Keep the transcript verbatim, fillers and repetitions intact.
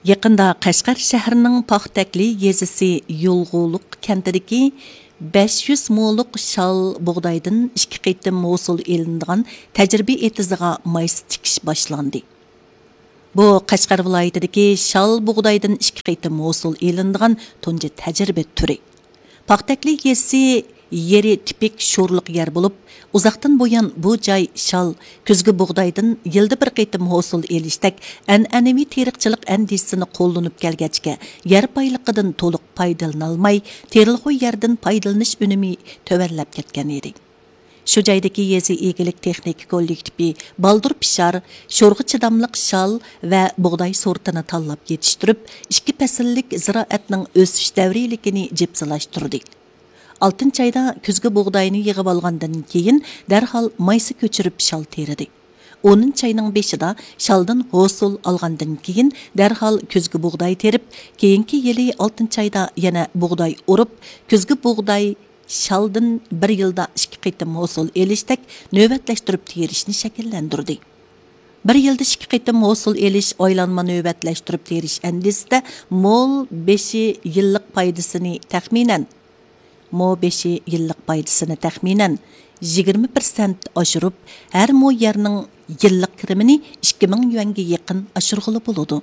يېقىندا قەشقەر شەھىرىنىڭ پاختەكلى يېزىسى يولغۇلۇق كەنتىدىكى بەش يۈز مولۇق شال بۇغدايدىن ئىككى قېتىم ھوسۇل ئېلىنىدىغان تەجرىبە ئېتىزىغا مايسا تىكىش باشلاندى. بۇ قەشقەر ۋىلايىتىدىكى شال بۇغدايدىن ئىككى قېتىم ھوسۇل ئېلىنىدىغان تۇنجى تەجرىبە تۈرى. پاختەكلى يېزىسى يېرى تىپىك شورلۇق يەر بولۇپ، ئۇزاقتىن بۇيان بۇ جاي شال، كۈزگى بۇغدايدىن يىلدا بىر قېتىم ھوسۇل ئېلىشتەك ئەنئەنىۋى تېرىقچىلىق ئەندىزىسىنى قوللىنىپ كەلگەچكە، يەر بايلىقىدىن تولۇق پايدىلىنالماي، تېرىلغۇ يەردىن پايدىلىنىش ئۈنۈمى تۆۋەنلەپ كەتكەن ئىدى. شۇ جايدىكى يېزا ئىگىلىك تېخنىكا كوللېكتىپى بالدۇر پىشار، شورغا چىداملىق شال ۋە بۇغداي سورتىنى تاللاپ يېتىشتۈرۈپ، ئىككى پەسىللىك زىرائەتنىڭ ئۆسۈش دەۋرىيلىكىنى جىپسىلاشتۇردى. ئالتىنچى ئايدا كۈزگى بۇغداينى يىغىۋالغاندىن كېيىن، دەرھال مايسا كۆچۈرۈپ شال تېرىدى. ئونىنچى ئاينىڭ بېشىدا شالدىن ھوسۇل ئالغاندىن كېيىن، دەرھال كۈزگى بۇغداي تېرىپ، كېيىنكى يىلى ئالتىنچى ئايدا يەنە بۇغداي ئورۇپ، كۈزگى بۇغداي شالدىن بىر يىلدا ئىككى قېتىم ھوسۇل ئېلىشتەك نۆۋەتلەشتۈرۈپ تېرىشنى شەكىللەندۈردى. بىر يىلدا ئىككى قېتىم ھوسۇل ئېلىش ئايلانما نۆۋەتلەشتۈرۈپ تېرىش ئەندىزىسىدە مول بېشى يىللىق پايدىسىنى تەخمىنەن، مو بېشى يىللىق پايدىسىنى تەخمىنەن يىگىرمە پىرسەنت ئاشۇرۇپ، ھەر مو يەرنىڭ يىللىق كىرىمىنى ئىككى مىڭ يۈەنگە يېقىن ئاشۇرغىلى بولىدۇ.